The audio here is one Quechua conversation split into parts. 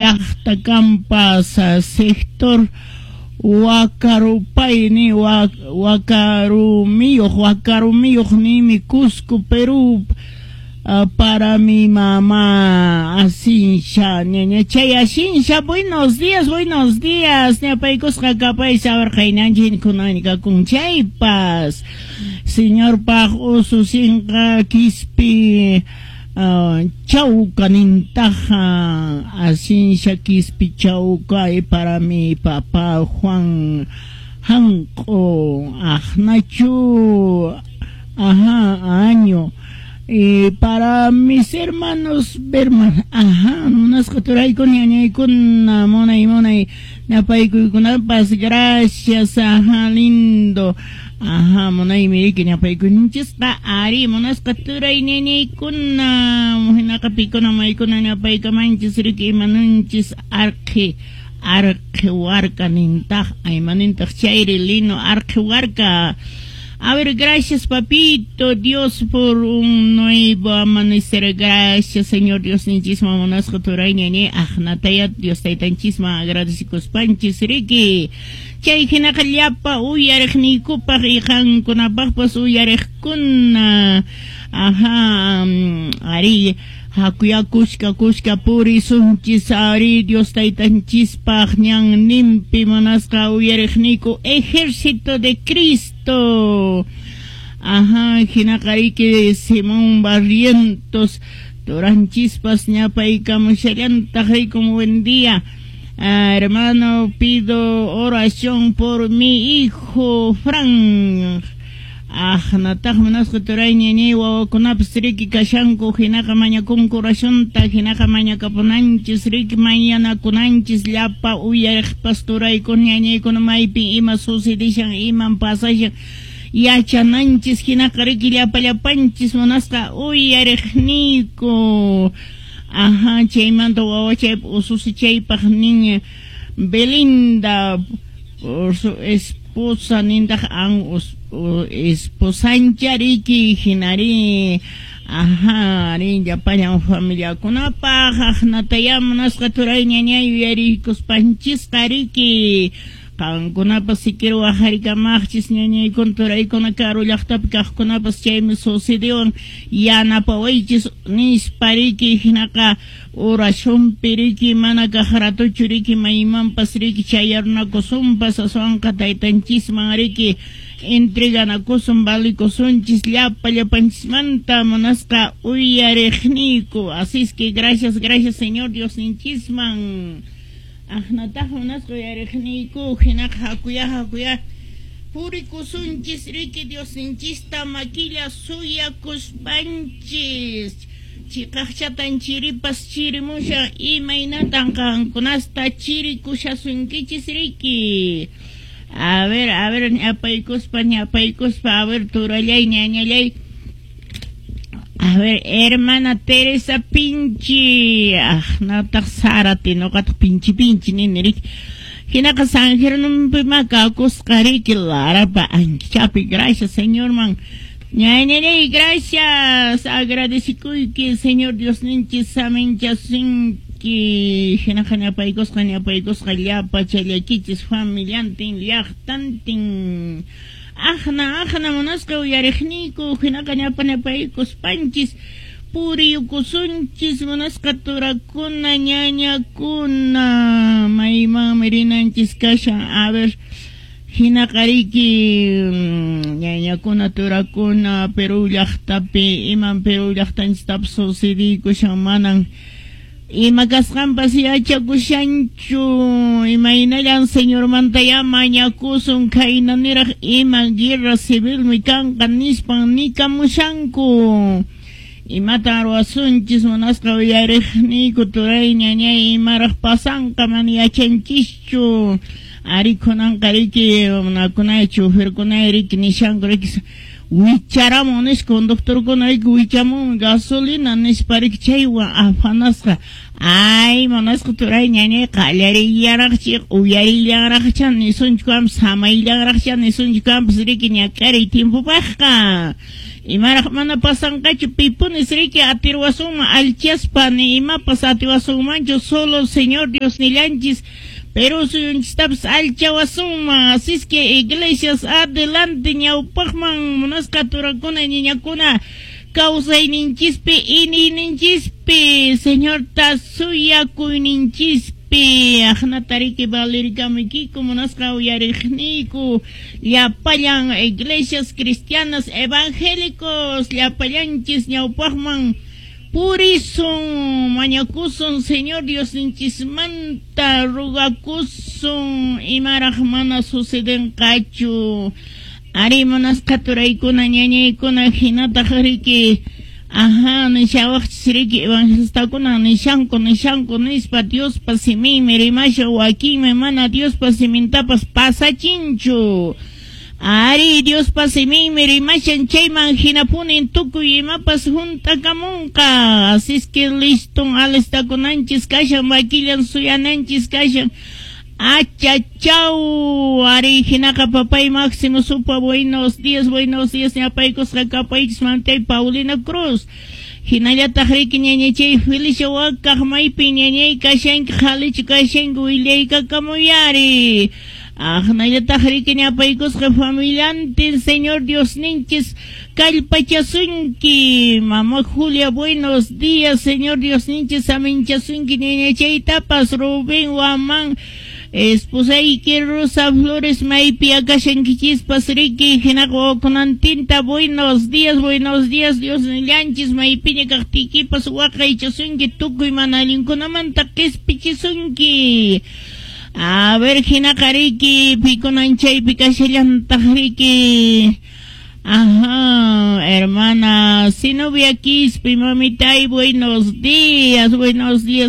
llaqta kampas sector Wakarupayni Wakarumiyuq nimi Cusco, Perú, para mi mamá Asinsha, ñaña chay Asinsha, buenos días, buenos días, ñapaykusqa kapay sawarqaynanchik kunani kakun chaypas, señorpaq ususinqa Quispi Chauca nintaja, Asinsha Quispi Chauca, y para mi papá Juan Hanqo, Ajnachu, ajá, año. Y para mis hermanos Berman, ajá, munasqa turaykuna ñañaykuna, munay munay ñapaykuykunapas, gracias, ajá, lindo. Ajá, munaymi riki ñapaykunchisqa, ari munasqa turay ñañaykuna, hinaqa pikuna maykuna ñapaykamanchis riki imanunchis arqi arqi warka nintaq, aymanintaq chayri lino arqi warka. A ver, gracias, papito, Dios, por un nuevo amanecer. Gracias, Señor Dios, ninchisma munasqa turay ñañay, aqnataya Dios taytanchisma agradecikuspanchis riki. Chay hinaqa llapa uyariqniykupaq y qankunapaqpas uyariqkuna. Ajá, ari, hakuya kushka kushka purisunchis ari Dios taytanchispaq ñanninpi munasqa uyariqniyku Ejército de Cristo. Ajá, hinaqa riki Simón Barrientos turanchispas ñapaykamushallantaq rikun, buen día. Ah, hermano, pido oración por mi hijo Frank. Aqnataq munasqa turay ñañay wawakunapas riki kashanku hinaqa mañakunku oracionta hinaqa mañakapunanchis riki mañanakunanchis llapa uyariqpas turaykuna ñañaykuna maypi ima sucedishan iman pasashan yachananchis hinaqa riki llapa llapanchis munasqa uyariqniyku. Ajá, chaymanta wawachaypa ususichaypaq nin Belinda por su esposa nintaq an esposancha riki hinari, ajá, rin llapallan familiakunapaq aqnataya munasqa turay ñañay yuyarikuspanchisqa riki qankunapas siquiera waqharikamaqchis ñañaykuna turaykuna karu llaqtapi kaqkunapas chaymi sucediwan yanapawaychis nispa riki hinaqa oracionpi riki mana kaq ratuchu riki maymanpas riki chayarunakusunpas aswanqa taytanchisman riki entreganakusun valikusunchis llapa llapanchismanta munasqa uyariqniyku. Así es que gracias, gracias Señor Dios ninchisman. Aqnataq munasqa uyariqniyku hinaqa hakuya hakuya purikusunchis riki Dios ninchista makilla suyakuspanchis. Chiqaqchatan chiripas chirimushan imaynatan qankunasta chirikushasunkichis riki. A ver, ñapaykuspa, ñapaykuspa, a ver, turallay, ñañallay. A ver, hermana Teresa Pinchi. Aqnataq Sarati, noqataq Pinchi Pinchi nini riki. Hinaqa San Jerónimo makakusqa riki Larapa anchapi. Gracias, Señor man. Ñañallay, gracias. Agradecikuyki, Señor Dios ninchis saminchasunki. Hinaqa ñapaykusqa, ñapaykusqa llapa challakichis familiantin, llaqtantin. Aqna, aqna munasqa uyariqniyku, hinaqa ñapa ñapaykuspanchis puriyukusunchis munasqa turakuna, ñañakuna, maymanmi rinanchis kashan. A ver, hinaqa riki ñañakuna, turakuna, Perú llaqtapi, iman Perú llaqtanchistapas sucediykushan manan ima kasqanpas yachakushanchu, imaynallan Señormanta ya mañakusun khayna niraq ima guerra civilmi kanqa nispan nikamushanku. Imatan ruwasunchis munasqa uyariqniyku turay ñañay imaraq pasanqa mana yachanchischu. Ari kunanqa riki runakunay choferkunay riki nishanku riki wicharamun nispa conductorkuna riki wichamunmi gasolina nispa riki chaywan afanasqa Ay, munasqa turay ñañay qallarillanraqchi uyarillanraqcha nisunchu kanpas samayllanraqcha nisunchu kanpas riki ñak'ariy tiempopaqqa. Imaraq mana pasanqachu pipunis riki atirwasunman alchaspa ni imapas atiwasunmanchu solo Señor Diosnillanchis Perú suyunchistapas alchawasunman. Así es que iglesias adelante ñawpaqman munasqa turakuna ñañakuna kawsayninchispi iniyninchispi Señorta suyakuyninchispi aqnata riki valirkamuykiku munasqa uyariqniyku llapallan iglesias cristianas evangélicos llapallanchis ñawpaqman purisun mañakusun Señor Diosninchismanta rugakusun imaraq mana sucedenqachu. Ari munasqa turaykuna ñañaykuna hinataq riki ajá nishawaqchis riki evangelistakuna nishanku nishanku nispa Diospa siminmi rimashan wakinmi mana Diospa simintapas pasachinchu. Ari Diospa siminmi rimashan chayman hinapunin tukuy imapas hunt'akamunqa. Así es que liston alistakunanchis kashan makillan suyananchis kashan. Achachau, ari hinaqa papay Máximo Supa, buenos días ñapaykusqa kapaychis mamtay Paulina Cruz. Hinallataq riki ñañachay Felicia Wakaq maypi ñañay kashanki qhalichu kashanki willaykakamuyari. Aqnallataq riki ñapaykusqa familiantin Señor Diosninchis kallpachasunki. Mamá Julia, buenos días, Señor Diosninchis aminchasunki ñañachaytapas Rubén Guamán. Esposayki Rosa Flores maypi akashankichispas riki hinaqa wawakunantinta buenos días Dios nillanchis maypiña kaqtiykipas waqaychasunki tukuy mana allinkunamanta qispichisunki. A ver hinaqa riki pikunan chaypi kashallantaq riki. Ajá, hermana Zenobia Quispe, mamitay, buenos días,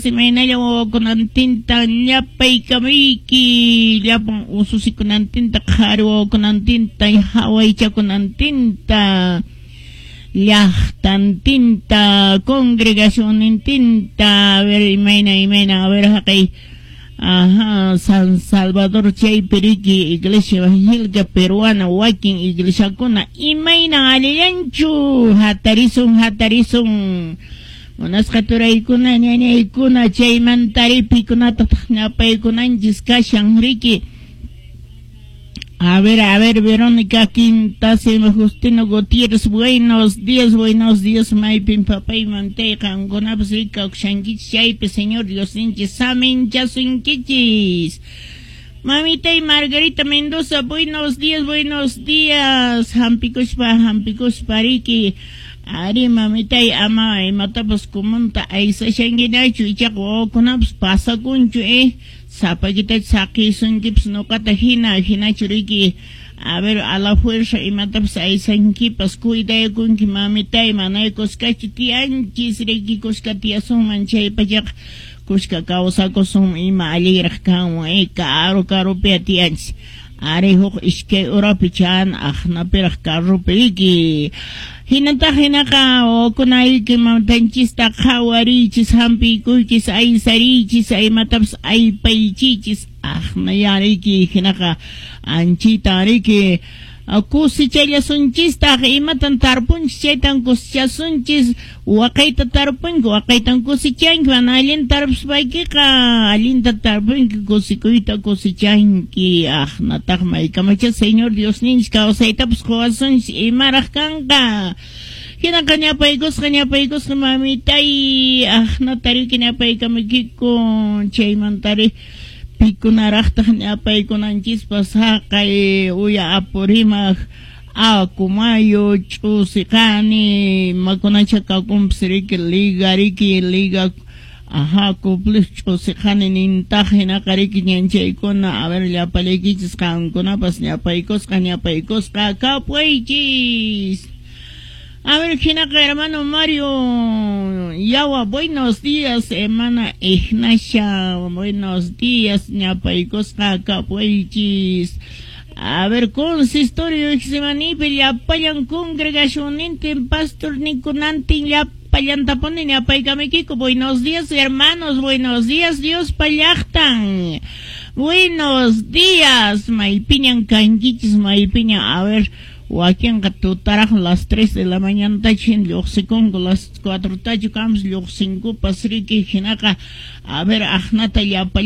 imaynalla wawakunantinta ñapaykamuyki, llapan ususikunantinta, qhari wawakunantinta, hawaychakunantinta, llaqtantinta, congregacionnintinta, a ver, imayna, a ver, haqay. Ajá, San Salvador chaypi riki Iglesia Evangélica Peruana wakin iglesiakuna imayna allillanchu hatarisun munasqa turaykuna ñañaykuna chaymantari pikunataq ñapaykunanchis kashan riki. A ver, Verónica Quintasima Justino Gutiérrez, buenos días, maypin papay mantay qankunapas rikawshankichis chaypi Señor Diosninchis saminchasunkichis. Mamitay Margarita Mendoza, buenos días, hampikuspa riki. Ari mamitay ama imatapas kumunta aysashankinachu ichaqa wawakunapas pasakunchu sapakita saqisunkipas nuqata hina hinachu riki. A ver, a la fuerza imatapas aysankipas cuidakunki mamitay manay kuskachu tiyanchis riki kuska tiyasunman chaypachaqa kuska kawsakusun ima allinraq kanman karu karupi tiyanchis. Ari huk iskay urapi chan aqnapiraq carrupi riki. Hinataq hinaqa wawakunayki matanchista qhawariychis hampikuychis aysariychis imatapas aypaychichis aqnayariki hinaqa anchita riki kusichallasunchistaq imatan tarpunchis chaytan kusichasunchis waqayta tarpunki waqaytan kusichanki mana allin tarpuspaykiqa allinta tarpunki kusikuyta kusichanki aqnataq maykamacha Señor Diosninchis kawsaytapas quwasunchis imaraq kanqa. Hinaqa ñapaykusqa mamitay aqnata riki ñapaykamuykiku chaymantari pikunaraqtaq ñapaykunanchispas haqay uya Apurímac Acomayo Ch'usiqani imakunacha kakunpas riki liga ajá cuplis Ch'usiqani nintaq hinaqa riki ñanchaykuna. A ver llapallaykichis qankunapas ñapaykusqa kapuychis. A ver, hinaqa hermano Mario Yawa, buenos días, hermana Ignacia, buenos días, ñapaykusqa kapuychis. A ver, consistorio Iximanipi, llapallan congregacionnintin, pastor nikunantin, llapallan Llapallantapuni ñapaykamuykiku. Buenos días, hermanos, buenos días, Diospa llaqtan. Buenos días, maypiñan kankichis, maypiñan, a ver, wakinqa tutaraq las 3 de la mañana tachin lluqsikunku, las 4 tachu kams lluqsinkupas riki, hinaqa, a ver, aqnata llapa.